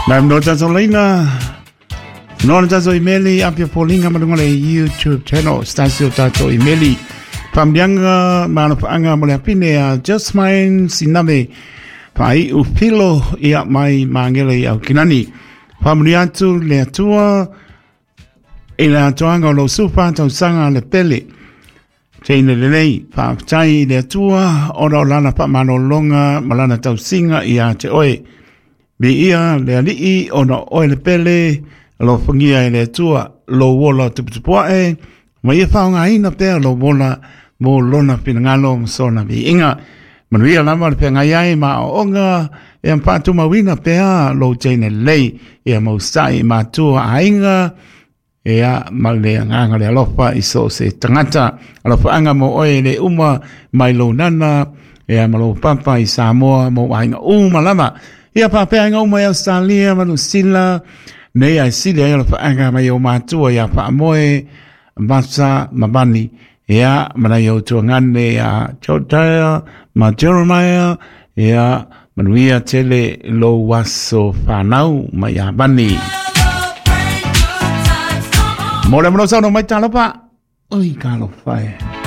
Mai no tatou laina no na tatou imeli apia polinga ma lunga le YouTube channel stasio tatou imeli. Pamlianga ma na paanga mo le apine a Jasmine Siname pai u pilo ia mai mangele i au kinani. Pamli atu le atua i le atoaga o lou sufa tausaga le pele. Teine lelei, faafetai i le Atua ona o lana faamalologa ma lana tausiga ia te oe. Viia le Alii ona o oe le pele, alofagia e le Atua lou ola tuputupuae, ma ia faaaogaina pea lou ola mo lona finagalo ma sona viiga. Manuia lava le feagai ai ma aoaoga ia faatumauina pea lou teine lelei, ia mausai i matua aiga, Ea, ma le agaga le alofa i so o se tagata. Alofaaga mo oe e le uma mai lou nana, ea ma lou papa i Samoa mo aiga uma lava. Ia faapea aiga uma i Australia ma Niu Sila, nei ae sili ai alofaaga mai ou matua ia Faamoe, Masa ma Vani. Ea, ma nai ou tuagane ia Jodiah ma Jeremiah, ea, manuia tele lou aso whanau mai ia Vani. Mo le mano sauno mai talofa. Oi, talofa e.